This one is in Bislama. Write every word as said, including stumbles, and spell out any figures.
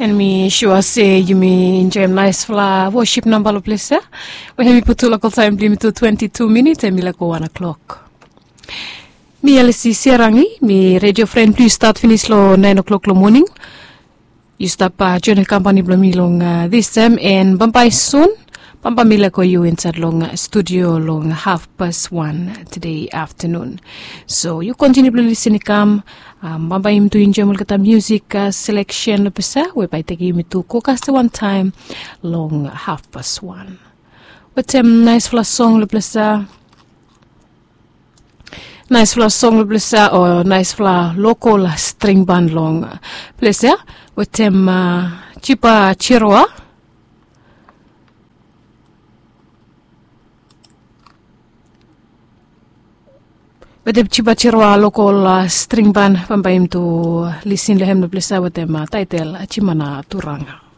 And mi sua se yumi enjoim naispela worship namba long ples ya. We hemi putu lokal taim bilong yumi tu twenti tu minit em i laik go wan o'clock. Mi alisi serangi mi redio fren bilong yu stat pinis long nain o'clock long moning. Yu stap joinim kampani bilong mi long dis taim, en bambae sun bambae mi leko yu insait long studio long hafpas wan tede aftanun. So yu kontiniu bilong lisin i kam. Bambae yumi tu enjoim olgeta musik seleksen long ples ya we bai tekim yumi tu go kasem wantaim long hafpas wan. Wetem naispela song long ples ya. Naispela song long ples ya o naispela lokol string ban long ples ya. Wetem jipa jiroa. Wetem jipa jiroa lokol string ban bambae yumi tu lisin long hem long ples ya wetem taitel jimana turanga.